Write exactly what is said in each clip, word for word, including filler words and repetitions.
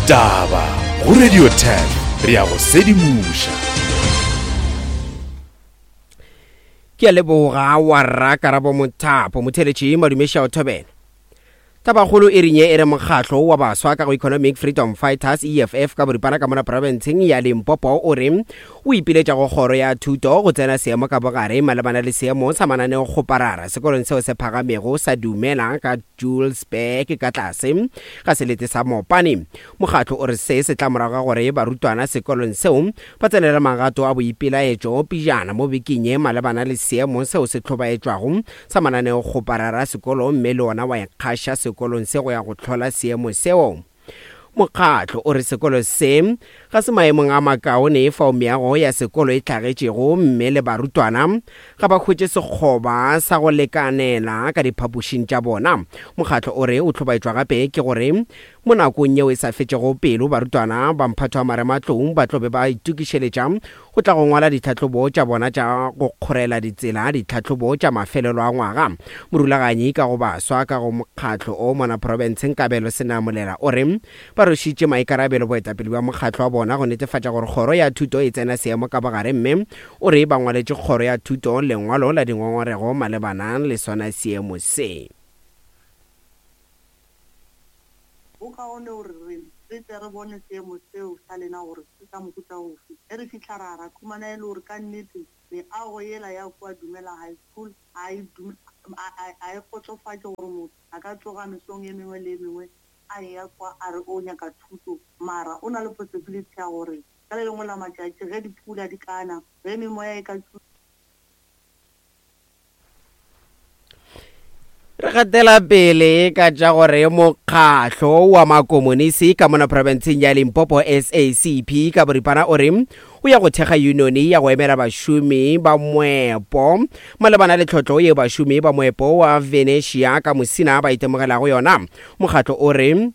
Ditaba go Radio ten, re a go sedimoša. Ke a leboga wa rra Karabo Mothapo motheletši madumeša o thobela. Tabakgolo e rinye e re mokgatlo wa baswa ka go Economic Freedom Fighters E F F ka boripana ka mona profenseng ya Limpopo o re o ipiletša go kgoro ya thuto go tsena seemo ka bogare malebana le seemo sa mananeo kgoparara sekolong seo se phagamego sa Dumela ka Julesburg ka tlase ga selete sa Mopane. Mokgatlo o re se se tla morago ga gore barutwana sekolong seo ba tsenele magato a boipelaetšo pejana mo bekeng ye malebana le seemo seo se hlobaetšwago sa mananeo kgoparara sekolo mme le ona wa ikgaša sekolong se go ya go hlola seemo seo. Mokgatlo o re sekolo se ga se maemong a makaone fao meago ya sekolo e hlagetšego mme le barutwana ga ba hwetše sekgoba sa go lekanela ka diphapošing tša bona. Mokgatlo o re o hlobaetšwa gape ke gore mo nakong yeo e sa fetšego pelo barutwana ba mphato wa marematlou ba tlo be ba itokišeletša go tla go ngwala ditlhahlobo tša bona tša go kgorela ditsela ditlhahlobo tša mafelelo a ngwaga. Morulaganyi ka go baswa ka go mokgatlo o mona profenseng Kabelo Senamolela o re ba rwešitše maikarabelo boetapele bja mokgatlo wa bona go netefatša gore kgoro ya thuto e tsena seemo ka bogare mme o re ba ngwaletše kgoro ya thuto lengwalo la dingongorego malebana le sona seemo se. Go kaone gore re re tle re bone seemo seo sa lena gore se sa mohuta ofe. Ge re fihla ra ra khumana e le gore ka nnete meago yela ya kua Dumela High School a e a e kgotsofatše gore motho a ka tsoga mesong e mengwe le e mengwe a eya kwa a re o nyaka thuto, mara o na le possibility ya gore ka le lengwe la matšatši ge dipula di kana, ge memoya e ka Re gatela pele ka tša gore mokgatlo wa makomonisi ka mona profenseng ya Limpopo S A C P ka boripana o re o ya go thekga unione ya go emela bašomi ba moepo malebana le tlhotlo ye bašomi ba moepo wa Venetia ka Musina ba itemogelago yona. Mokgatlo o re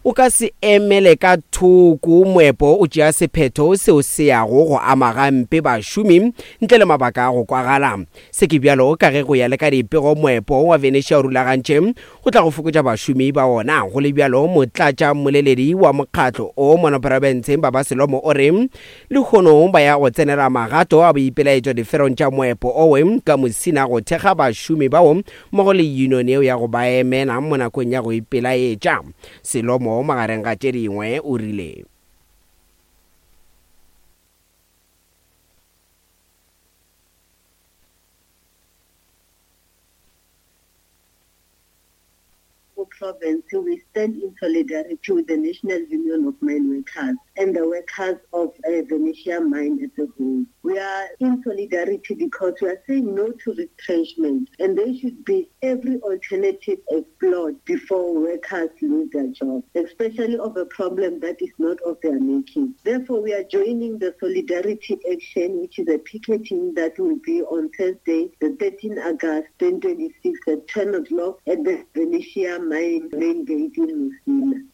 o ka se emele ka thoko moepo o tšea sephetho seo se yago go ama gampe bašomi ntle le mabaka a go kwagala. Se ke bjalo ka ge go ya le ka dipego moepo wa Venetia o rulagantše go tla go fokotša bašomi ba ona. Go le bjalo motlatša mmoleledi wa mokgatlo o mona profenseng Baba Selomo o re lehono ba ya go tsenela magato a boipelaetšo diferong tša moepo owe ka Musina go thekga bašomi bao mmogo le union yeo ya go ba emela mo nakong ya go ipelaetša. Selomo magareng ga tše dingwe o rile province, we stand in solidarity with the National Union of Mine Workers and the workers of uh, Venetia Mine as a whole. We are in solidarity because we are saying no to retrenchment, and there should be every alternative explored before workers lose their jobs, especially of a problem that is not of their making. Therefore, we are joining the Solidarity Action, which is a picketing that will be on Thursday, the thirteenth of August twenty twenty-six at ten o'clock at the Venetia Mine main gate in Musina.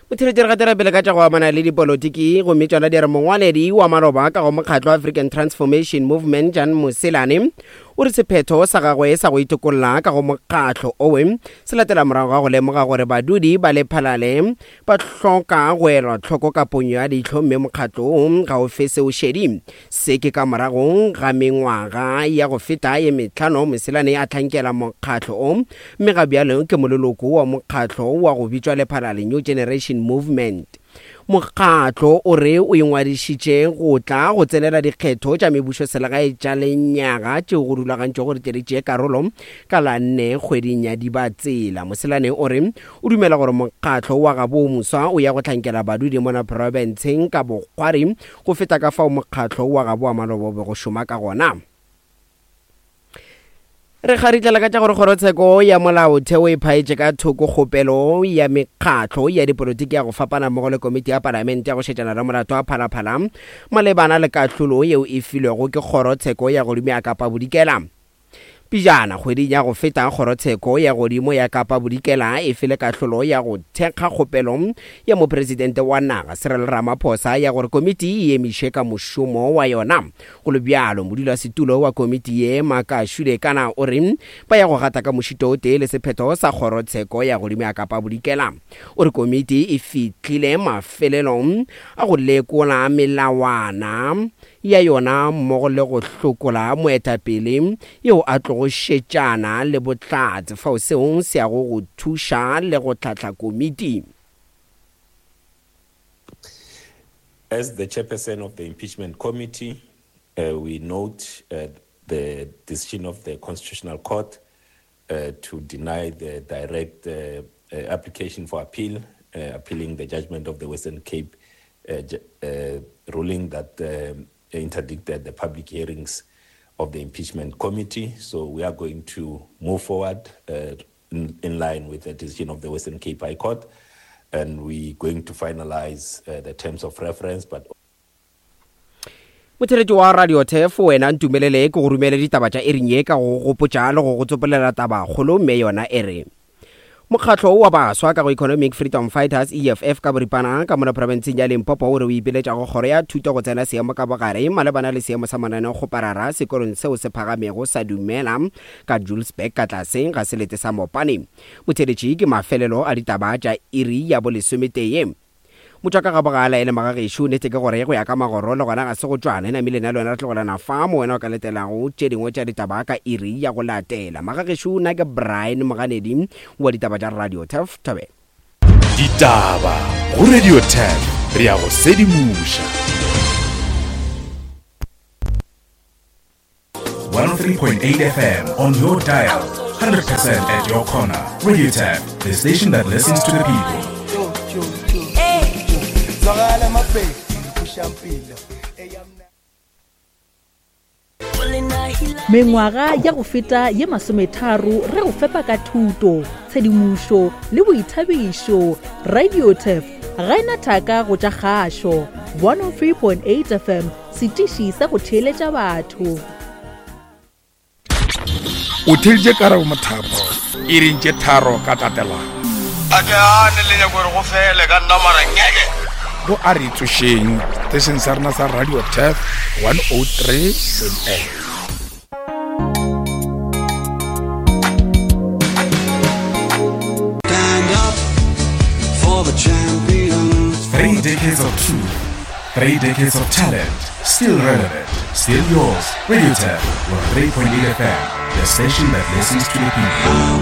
Motheletši re gatela pele ka tša go amana le dipolotiki gomme tšona di re mongwaledi wa maloba ka go mokgatlo African Transformation Movement Jan Moselane o re sephetho sa gagwe sa go itokolla ka go mokgatlo owe se latela morago ga go lemoga gore badudi ba Lephalale ba hloka go elwa tlhoko ka ponyo ya leihlo mme mokgatlo ga o fe seo šedi. Se ke ka morago ga mengwaga ya go feta ye mehlano Moselane a hlankela mokgatlo o mme ga bjalo ke moleloko wa mokgatlo wa go bitšwa Lephalale New Generation Movement. Mokgatlo o re o ingwadišitše go tla go tsenela dikgetho tša mebušoselegae tša lenyaga tšeo go rulagantšwego gore di tšee karolo ka la nne kgweding ya Dibatsela. Moselane o re o dumela gore mokgatlo wa gabo moswa o ya go hlankela badudi mona profenseng ka bokgwari go feta ka fao mokgatlo wa gabo wa maloba o be go šoma ka gona. Re kgaritlela ka tša gore kgorotsheko ya molaotheo e phaetše ka thoko kgopelo ya mekgatlo ya dipolotiki ya go fapana mmogo le komiti ya palamente ya go šetšana le molato wa Phalaphala malebana le kahlolo yeo e filwego ke kgorotsheko ya godimo ya Kapa Bodikela. Pejana kgweding ya go feta, kgorotsheko ya godimo ya Kapa Bodikela e file kahlolo ya go thekga kgopelo ya mopresidente wa naga Cyril Ramaphosa ya gore komiti e emiše ka mošomo wa yona. Go le bjalo, modulasetulo wa komiti ye Makashule Kana o re ba ya go gata ka mošito o tee le sephetho sa kgorotsheko ya godimo ya Kapa Bodikela. O re komiti e fihlile mafelelong a go lekola melawana ya yona mmogo le go hlokola moetapele yeo a tlogo šetšana le bohlatse fao seo se yago go thuša le go hlahla komiti. As the chairperson of the impeachment committee, uh, we note uh, the decision of the Constitutional Court uh, to deny the direct uh, uh, application for appeal, uh, appealing the judgment of the Western Cape uh, uh, ruling that uh, interdicted the public hearings of the impeachment committee. So we are going to move forward uh, in, in line with the decision of the Western Cape High Court, and we're going to finalize uh, the terms of reference. But Motheletši wa Radio Turf, wena ntumelele ke go romele ditaba tša ering ye ka go gopotša le go go tsopolela tabakgolo, mme yona e re mokgatlo wa baswa ka go Economic Freedom Fighters E F F ka boripana ka mona profenseng ya Limpopo o re o ipiletša go kgoro ya thuto go tsena seemo ka bogare malebana le seemo sa mananeokgoparara sekolong seo se phagamego sa Dumela ka Julesburg ka tlase ga selete sa Mopane. Motheletši ke mafelelo a ditaba tša iri ya bolesometee. Motšwaka ga bogala e le magagešo, nnete ke gore go ya ka magoro le gona ga se go tšwana. Namile nna le wena re tlogelana fa mo wena o ka letelago tše dingwe tša ditaba ka iri ya go latela. Magagešo, nna ke Brian Moganedi wa ditaba tša Radio Turf. Thobela. Ditaba go Radio Turf, re ya go sedimoša. one oh three point eight F M on your dial, one hundred percent at your corner. Radio Turf, the station that listens to the people. Mengwaga ya go feta ye masometharo re go fepa ka thuto, tshedimošo le boithabišo. Radio Turf ga ena thaka go tša kgašo. one oh three point eight F M, setiši sa go theeletša batho. O theeditše Karabo Mothapo iring tše tharo ka tatelano. A ke ane le nyako gore go fele ka nna mara ngeke. Go a re tsošeng station sa rena sa Radio Turf one oh three point eight. Stand up for the champions. Three decades of truth, three decades of talent, still relevant, still yours. Radio Turf one oh three point eight F M, the station that listens to the people.